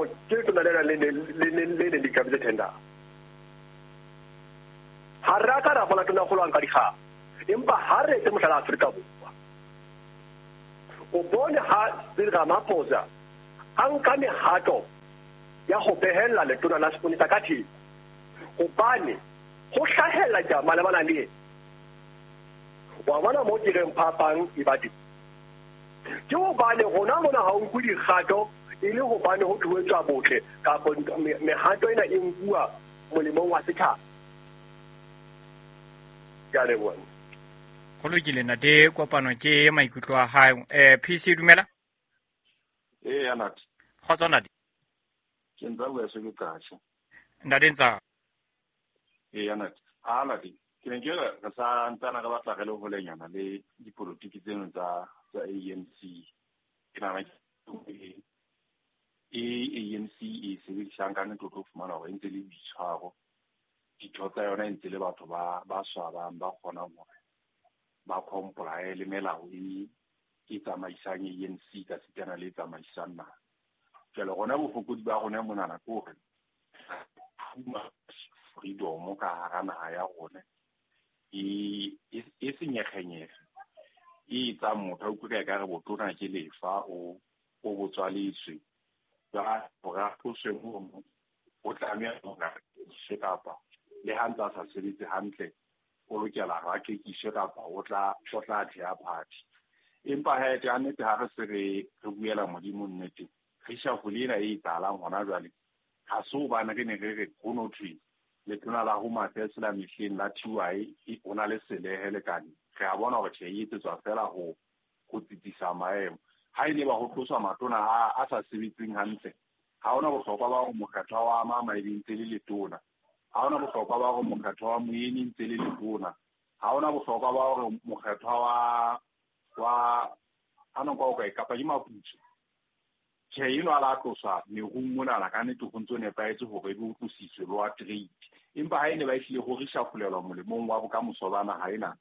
Hore ke letona lena le le neng le ikabetse tender. Ha re a ka ra bona tonakgolo a nka dikgang, empa ha re etse mohlala Afrika Borwa. O bone ha Cyril Ramaphosa a nka mehato ya ho behella letona la seponesa ka theko, hobane ho hlahella ditaba malebana le yena. Wa bona moo ke reng phapang e ba teng? Ke hobane rona mona ha o nkwe dikgato e le hobane ho thwe ho etswa botle kapa mehato ena e nkuwa molemong wa setjhaba. Ke a leboha. Go lokile ntate Kopano ke maikutlo a hae. PC dumela. Ee ya ntate. Kgotso ntate. Ke ntsa bua se ke qasha. Ntate ntsa. Ee ya ntate. A ntate ke ne ke re re sa ntsana re batla re le holenyana le dipolotiki tseno tsa tsa ANC. Ke nahana ke e ANC e sebedisang ka nnete o tlo fumana hore e ntse le boitshwaro. Ditho tsa yona e ntse le batho ba ba swabang ba kgonang hore ba comply le melao e e tsamaisang ANC ka sitana le e tsamaisang naha. Jwale rona bofokodi ba rona monana ke hore too much freedom ka hara naha ya rona e e senyekgenyekge e etsang motho a utlwe ka ekare botona ke lefa o o botswaletswe. Jwale hore a tloswe mono o tlameha hore a rekiswe kapa le ha ntse a sa sebetse hantle o lokela hore a kekiswe kapa o tla o tla theha party. Empa he ka nnete ha re se re re buela Modimo nnete reshuffle ena e etsahalang hona jwale ha se hobane re ne re re ho no thwe letona la Home Affairs la mehleng la TY o na le selehe lekane. Re a bona hore tjhe e etsetswa fela ho ho tsitsisa maemo. Ha e ne ba ho tloswa matona a a sa sebetseng hantle, ha hona bohlokwa ba hore mokgethwa wa Mama e be ntse le letona. Ha hona bohlokwa ba hore mokgethwa wa Moyeni ntse le letona. Ha hona bohlokwa ba hore mokgethwa wa wa ano kwa o kae kapa ke Maputso. Tjhe eno a la tloswa merung monana ka nnete ho ntso nepahetse hore ebe o tlositswe le wa trade. Empa ha e ne ba ehlile ho reshufflelwa molemong wa bokamoso ba naha ena,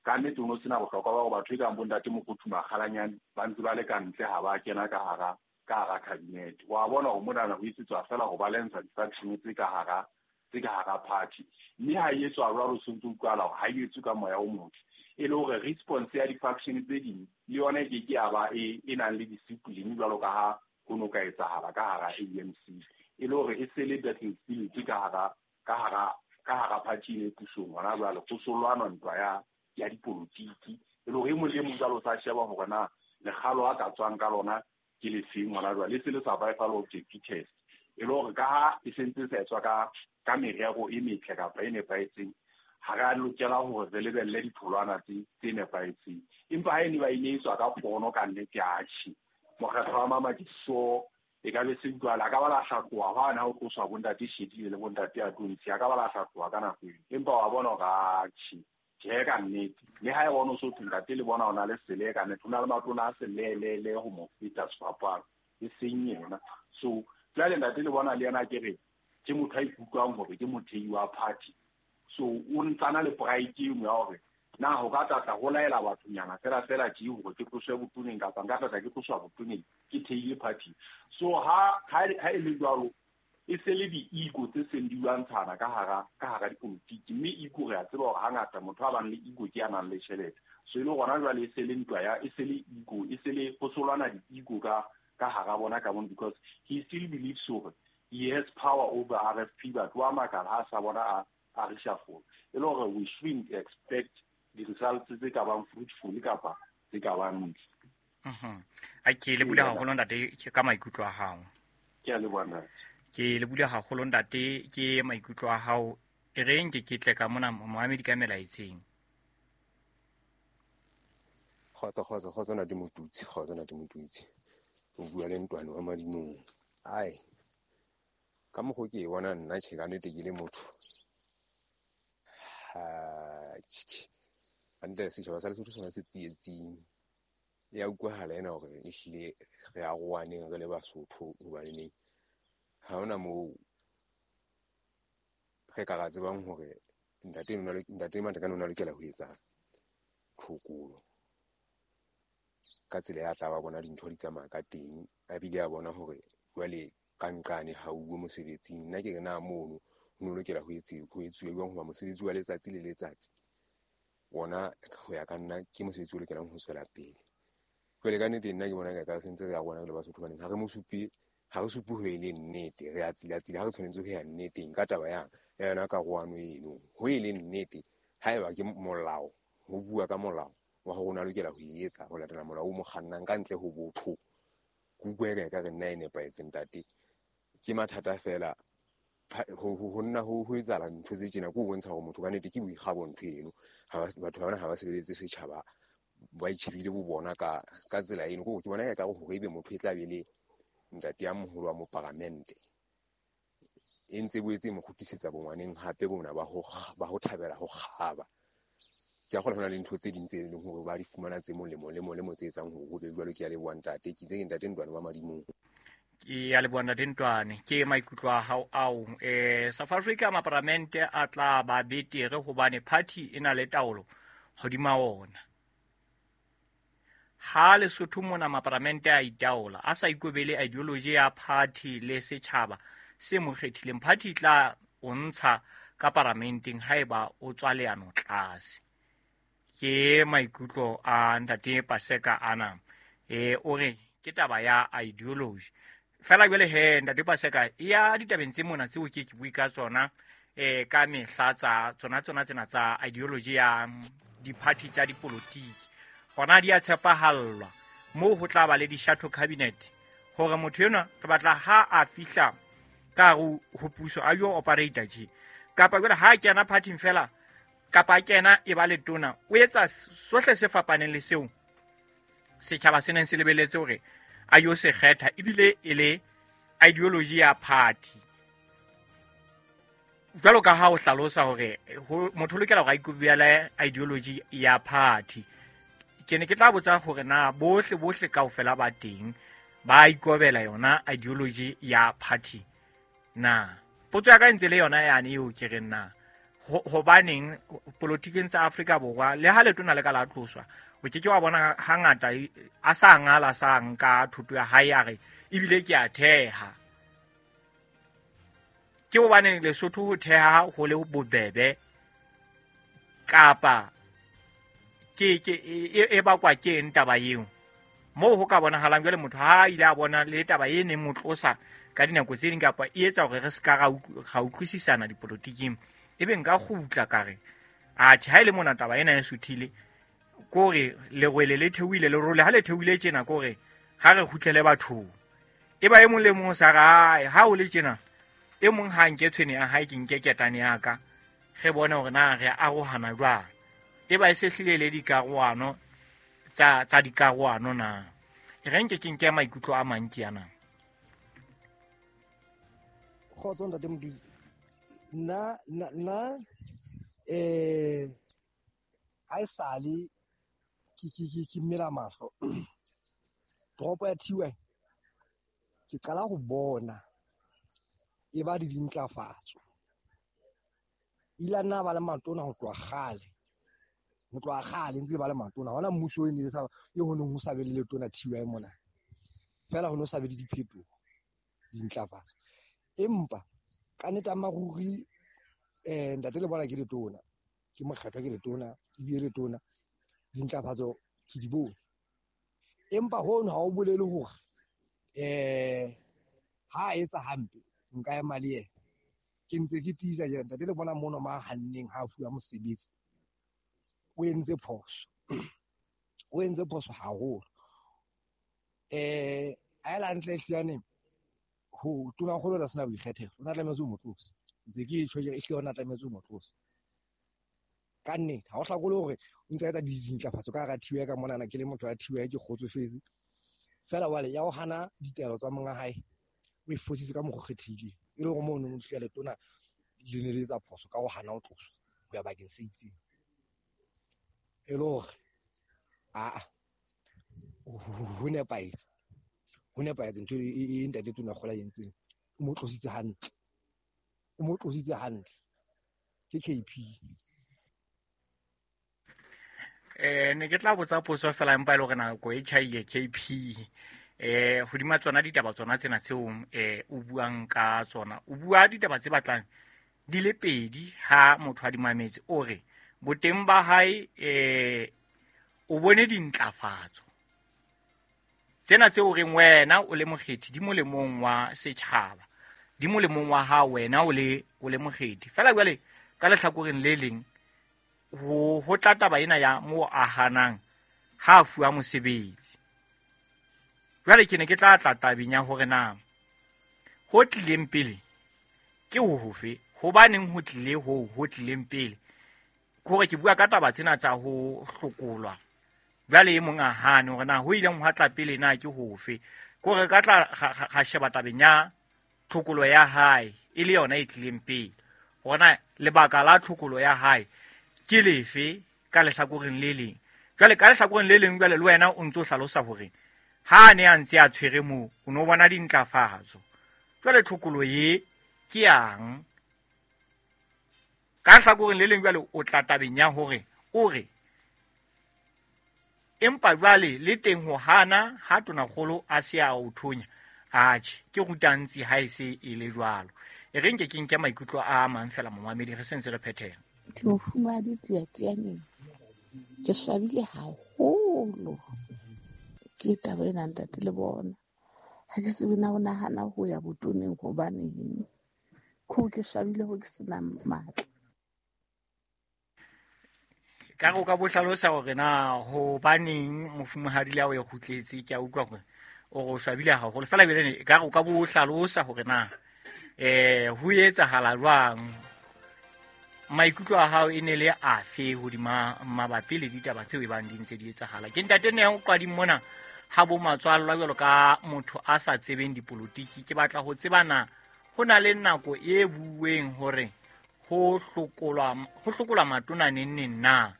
ka nnete ho no sena bohlokwa ba hore batho e kang bo ntate Mokothu Makgalanyane ba ntse ba le ka ntle ha ba kena ka hara ka hara cabinet. Wa bona hore monana ho etsetswa fela ho balansa di-faction tse ka hara tse ka hara party. Mme ha e etswa jwalo se ntse utlwahala hore ha e etswe ka moya o motle. E le hore response ya di-faction tse ding le yona e ke ke ya ba e e nang le discipline jwalo ka ha ho no ka etsahala ka hara ANC. E le hore e se le battlefield ka hara ka hara ka hara party e pusong hona jwale ho so lwanwa ntwa ya ya dipolotiki. E le hore e mong le mong jwale o sa sheba hore na lekgalo a ka tswang ka lona ke lefeng hona jwale. E se le survival of the fittest. E le hore ka ha e sentse e sa etswa ka ka merero e metle kapa e nepahetseng, ha re a lokela hore re lebelle ditholwana tse tse nepahetseng. Empa ha e ne ba e ne etswa ka pono ka nnete, atjhe. Mokgatlo wa Mama ke so e ka be se utlwahala. A ka ba la hlatloha hwane ha o tloswa bo ntate Shedile le bo ntate Atonsi, a ka ba la hlatloha ka nako eo. Empa wa bona hore atjhe, tjhe ka nnete. Le ha e bona o so thwe ntate le bona o na le sele ka nnete, ho na le matona a selelele ho mo feta sefapano, e seng yena. So jwale ntate le bona le yena ke re ke motho a ikutlwang hore ke mothehi wa party. So o ntsana le pride eno ya hore na ho ka tlatla ho laela bathonyana fela fela tje hore ke tloswe botoneng kapa nka tlatla ke tloswa botoneng ke theile party. So ha ha ha e le jwalo e se le di-ego tse seng di lwantshana ka hara ka hara dipolotiki, mme ego re a tseba hore hangata motho a bang le ego ke ya nang le tjhelete. So e le gona jwale e se le ntwa ya e se le ego e se le ho solwana di-ego ka ka hara bona ka mono, because he still believes hore he has power over RFP, but wa makala ha sa bona a a reshuffle. E le hore we shouldn't expect di-results tse ka bang fruitful kapa tse ka bang ntle. A ke le bule haholo ntate ka maikutlo a hao. Ke a leboha ntate. Ke le bule haholo ntate ke maikutlo a hao. E reng ke ke tle ka mona moamedi ka melaetseng. Kgotso kgotso kgotso ntate Motutsi, kgotso ntate Motutsi. O bua le ntwane wa madimong. Ai, ka mokgo ke e bona nna tjhe ka nnete ke le motho. Ha hantle setjhaba sa Lesotho sona se tsietsing. Ya utlwahala ena hore ehlile re arohaneng re le Basotho hobaneneng ha hona moo re ka ra tsebang hore ntate ntate Matekane o na lokela ho etsa tlhokolo ka tsela ya tla ba bona dintho di tsamaya ka teng, a bile a bona hore jwale ka nqane ha uwe mosebetsing. Nna ke re na mono ho no lokela ho etsuwe jwang hoba mosebetsi wa letsatsi le letsatsi ona ho ya ka nna ke mosebetsi o lokelang ho tswela pele. Jwale ka nnete nna ke bona ka sentse re a rona re le Basotho baneng ha re mo supe, ha re supe ho e le nnete, re a tsila-tsila ha re tshwanetse ho ya nneteng ka taba ya yona karohano eno. Ho e le nnete haeba ke molao, ho bua ka molao wa hore o na lokela ho e etsa ho latela molao o mo kgannang ka ntle ho botho. Ke utlwa eka ekare nna e nepahetse ntate. Ke mathata feela ho nna ho etsahala ntho tse tjena ke ho bontsha hore motho ka nnete ke boikgabo ntho eno. Batho bana ha ba sebeletse setjhaba, ba itjhebile bo bona ka tsela eno. Ke bona ekare hore ebe motho e tla be le ntate ya moholo wa moparamente e ntse boetse e mo kgutlisetsa bongwaneng hape bona ba ho thabela ho kgaba. Ke a kgolwa ho na le ntho tse ding tse leng hore ba di fumana tse molemo le molemo tse etsang hore ho be jwalo. Ke a leboha ntate, ke itse ke ntate Ntwane wa Madimong. Ke a leboha ntate Ntwane, ke maikutlo a hao ao. South Africa maparamente a tla ba betere hobane party e na le taolo hodima ona. Ha Lesotho mona maparamente a itaola, a sa ikobele ideology ya party le setjhaba se mo kgethileng, party e tla o ntsha ka paramenteng haeba o tswa leano tlase. Ke maikutlo a ntate Paseka ana. O re ke taba ya ideology. Fela jwale he ntate Paseka ya ditabeng tse mona tseo ke bue ka tsona ka mehla tsa tsona tsena tsa ideology ya di-party tsa dipolotiki. Hona di a tshepahallwa moo ho tla ba le di-shadow cabinet hore motho enwa re batla ha a fihla ka hare ho puso a yo operate tje, kapa jwale ha a kena party-ing fela kapa a kena e ba letona o etsa sohle se fapaneng le seo setjhaba se neng se lebeletse hore a yo se kgetha, ebile e le ideology ya party. Jwalo ka ha o hlalosa hore motho o lokela hore a ikobele ideology ya party, ke ne ke tla botsa hore na bohle kaofela ba teng ba ikobela yona ideology ya party na. Potso ya ka ntse le yona yane eo ke reng na hobaneng politiking tsa Afrika Borwa le ha letona le ka la tloswa o ke ke wa bona hangata a sa ngala sa nka thuto ya hae a re ebile ke a theha. Ke hobaneng Lesotho ho theha ho le bobebe kapa ke e bakwa ke eng taba eo moo ho ka bonahalang jwale motho ha ile a bona le taba e neng mo tlosa ka dinako tse ding kapa e etsa hore re se ka ra utlwisisana dipolotiking, ebe nka kgutla ka re atjhe ha ile mona taba ena e suthile kore lerwele le theohile le role ha le theohile tjena kore ha re kgutlele bathong. E ba e mong le mong sa re ha o le tjena e mong ha nke tshwene ya hae ke nke ketane ya ka re bone hore na re arohana jwang. E ba e se hlile le dikarohano tsa dikarohano na. E re nke ke nke maikutlo a mang ke yana. Kgotso ntate Modusi. Nna ha esale ke mmela mahlo toropo ya TY ke qala ho bona e ba di dintlafatso. Ile nna ba le matona ho tloha kgale ntse ba le matona hona mmuso e ne sa e ho neng ho sa be le letona TY mona fela ho no sa be le diphetoho dintlafatso. Empa ka nnete a maruri ntate le bona ke letona ke mokgethwa ke letona ebile letona dintlafatso ke di bone. Empa hono ha o bolele hore ha etsa hampe nka ema le yena. Ke ntse ke tiisa jena ntate le bona mono ma hanneng ha fuwa mosebetsi o entse phoso, o entse phoso haholo. A ela ntle hliyane ho tona kgolo la sena boikgethelo o na tlametse o motlose ntse ke tjho ke ehlile o na tlametse o motlose ka nnete. Ha o hlakole hore o ntse etsa dintlafatso ka hara TY ka monana ke le motho wa TY ke kgotsofetse fela wale ya ho hana ditaelo tsa monga hae o e fositse ka mokgwa kgethileng e le hore mono mo tlile letona le ne le etsa phoso ka ho hana ho tloswa ho ya bakeng se itseng e le hore a ho nepahetse ntho e ntate tona kgola entseng o mo tlositse hantle ke KP. Ne ke tla botsa potso fela empa e le hore nako e tjhaile KP. Hodima tsona ditaba tsona tsena tseo o buang ka tsona, o bua ditaba tse batlang di le pedi ha motho a di mametse. O re boteng ba hae o bone dintlafatso tsena tseo reng wena o le mokgethi di molemong wa setjhaba, di molemong wa hao wena o le mokgethi. Fela jwale ka lehlakoreng le leng ho tla taba ena ya mo a hanang ha a fuwa mosebetsi. Jwale ke ne ke tla tla tabeng ya hore na ho tlileng pele ke ho hofe, hobaneng ho tlile ho tlileng pele. Ke hore ke bua ka taba tsena tsa ho hlokolwa, jwale e mong a hane hore na ho ileng hwa tla pele na ke hofe. Ke hore ka tla ga sheba tabeng ya tlhokolo ya hae e le yona e tlileng pele, hore na lebaka la tlhokolo ya hae ke lefe ka lehlakoreng le leng. Jwale ka lehlakoreng le leng jwale le wena o ntso hlalosa hore ha a ne a ntse a tshwere moo o no bona dintlafatso. Jwale tlhokolo ye ke yang? Ka lehlakoreng le leng jwale o tla tabeng ya hore o re empa jwale le teng ho hana ha tonakgolo a se a o thonya, atjhe ke rutantsi ha e se e le jwalo. E re nke ke nke maikutlo a mang fela momamedi, re sentse re phethela. Ke mofumahadi Tsiatsianeng, ke swabile haholo ke taba ena ntate le bona. Ha ke tsebe na o nahana ho ya botoneng hobaneng, ke ke swabile ho ke sena matla. Ka re o ka bo hlalosa hore na hobaneng mofumahadi le ha o e kgutletse, ke a utlwa hore o re o swabile haholo. Fela ebile ka re o ka bo hlalosa hore na ho etsahala jwang, maikutlo a hao e ne le afe hodima mabapi le ditaba tseo e bang di ntse di etsahala. Ke ntate Neo Qwading mona ha bo matswallwa jwalo ka motho a sa tsebeng dipolotiki. Ke batla ho tseba na ho na le nako e bueng hore ho hlokolwa matona neng neng na.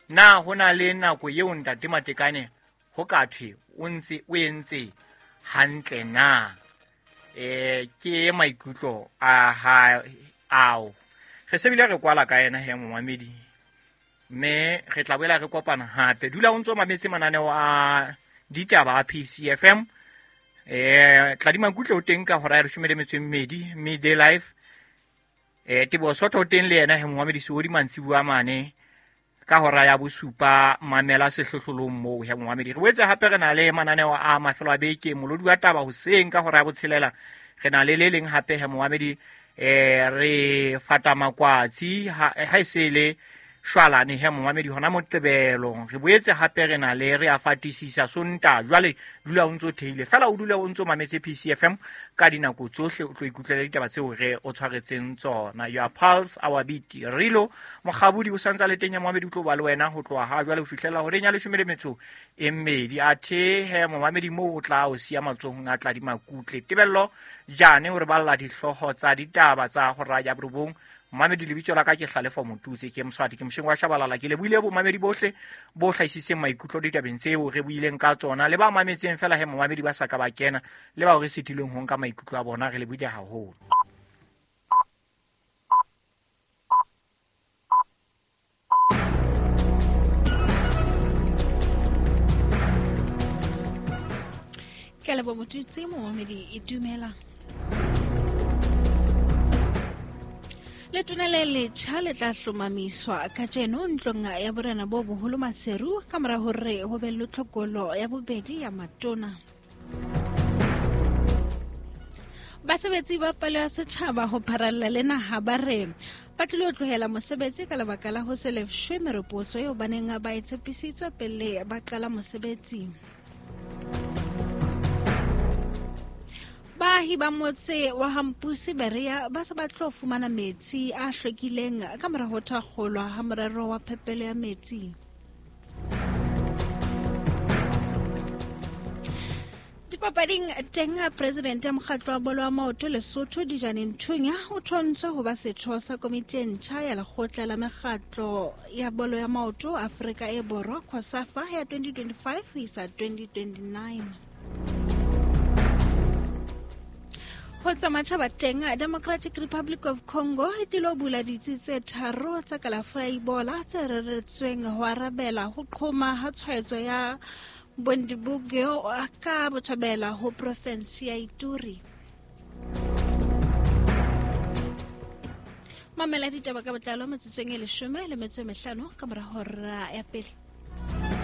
Na ho na le nako eo ntate Matekane ho ka thwe o ntse o entse hantle na? Ke maikutlo a hae ao. Re se bile re kwala ka yena he momamedi, mme re tla boela re kopana hape. Dula o ntso mametse mananeo a ditaba a PCFM. Tladima Kutle o teng ka hora ya 12 midday live. Teboho Sotho o teng le yena he momamedi Seodi mantsibuya mane ka hora ya 7, mamela sehlohlolong moo he momamedi. Re boetse hape re na le mananeo a mafelo a beke, molodi wa taba hoseng ka hora ya 6, re na le le leng hape he momamedi. Re fata makwatsi ha e se le shwalane he momamedi hona Moqebelo. Re boetse hape re na le re a fatisisa Sontaha. Jwale dula o ntso theile fela, o dula o ntso mametse PCFM ka dinako tsohle, o tlo ikutlwela ditaba tseo re o tshwaretseng tsona. Your pulse, our beat. Rilo Mokgabudi o santsa le teng ya momamedi, o tlo ba le wena ho tloha ha jwale ho fihlela horeng ya 12. Athe he momamedi moo o tla o siya matsohong a Tladima Kutle. Tebello Jane o re balla dihlooho tsa ditaba tsa hora ya 9. Momamedi lebitso la ka ke Hlalefo Motutse, ke Moswati, ke mosheng wa Shabalala. Ke lebohile bomamedi bohle bo hlahisitseng maikutlo ditabeng tseo re buileng ka tsona, le ba mametseng fela he momamedi ba sa ka ba kena, le bao re sitilweng ho nka maikutlo a bona, re lebohile haholo. Ke leboha Motutse, momamedi e dumela. Letona le letjha le tla hlomamiswa kajeno ntlong ya borena bo boholo Maseru ka mora hore ho be le tlhokolo ya bobedi ya matona. Basebetsi ba palo ya setjhaba ho pharalla le naha ba re ba tlilo tlohela mosebetsi ka lebaka la ho se lefshwe meropotso eo ba neng ba e tshepisitswe pele ba qala mosebetsi. Baahi ba motse wa Hampusi Berea ba se ba tlo fumana metsi a hlwekileng ka mora ho thakgolwa ha morero wa phepelo ya metsi. Dipapading teng, presidente ya mokgatlo wa bolo wa maoto Lesotho Dijane Nthunya o thontswe ho ba setho sa komiti e ntjha ya lekgotla la mekgatlo ya bolo ya maoto Afrika e Borwa COSAFA ya 2025 ho isa 2029. Ho tsa matjhaba teng, Democratic Republic of Congo e tlilo bula ditsi tse 3 tsa kalafo ya Ebola tse reretsweng ho arabela ho qhoma ha tshwaetso ya Bundibugyo ka botjhabela ho profensi ya Ituri. Mamela ditaba ka botlalo metsotsong e 15 ka mora hora ya pele.